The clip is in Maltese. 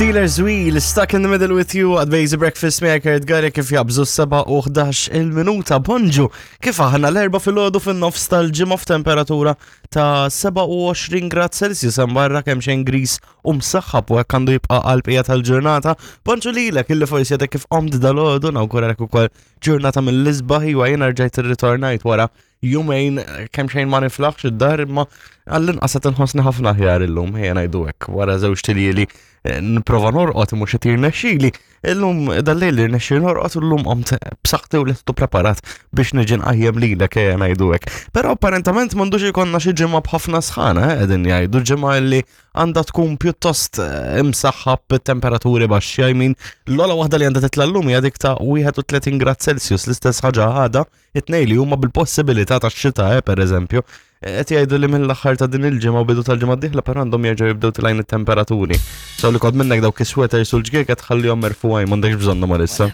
Steelers Wheel, Stuck in the Middle with You, għad Basic Breakfast miegħek Kurt Gary kif jabżu 7 u 11 il-minuta. Bonġu, kif aħna l-erba fil-ħodu fin-nofs tal-ġimgħa f'temperatura ta' 27 grad Celsius hemm barra kemm xejn gris u msaħħab u hekk għandu jibqa' għall-bqija tal-ġurnata. Bonġu lilek illi forsi għadek kif qomt dal-għodu nawguralek ukoll ġurnata mill-isbaħ iwa jiena rġajt irritornajt wara jumejn kemm xejn ma niflaħx id-dar imma għall-inqas qed inħossni ħafna aħjar illum ejja ngħidu hekk wara żewġ tiljieli eh, nipprova norqod mhux qed jirnexxili. Illum dal-lejl irnexxi norqod u llum qomt b'saħħti u lestu preparat biex niġi nqajjem lilek ejja ngħidu hekk. Però apparentament m'għandux ikollna xi ġimgħa b'ħafna sħana eh, qegħdin jgħidu ġimgħa li għandha tkun pjuttost eh, imsaħħa b'temperaturi baxxi, I mean, l-ola waħda li għandha titla' llum hija dik ta' 31 grad Celsius, l-istess ħaġa għada It-tnej li huma bil-possibilità ta' xita, eh, per eżempju, qed jgħidu li mill-aħħar ta' din il-ġimgħa u bidu tal-ġimgħa d-dieħla però għandhom jerġgħu jibdew tilgħin it-temperaturi. So li kod minnek dawk is-sweaters u l-ġgieket ħallihom merfugħin m'għandekx bżonnhom għalissa.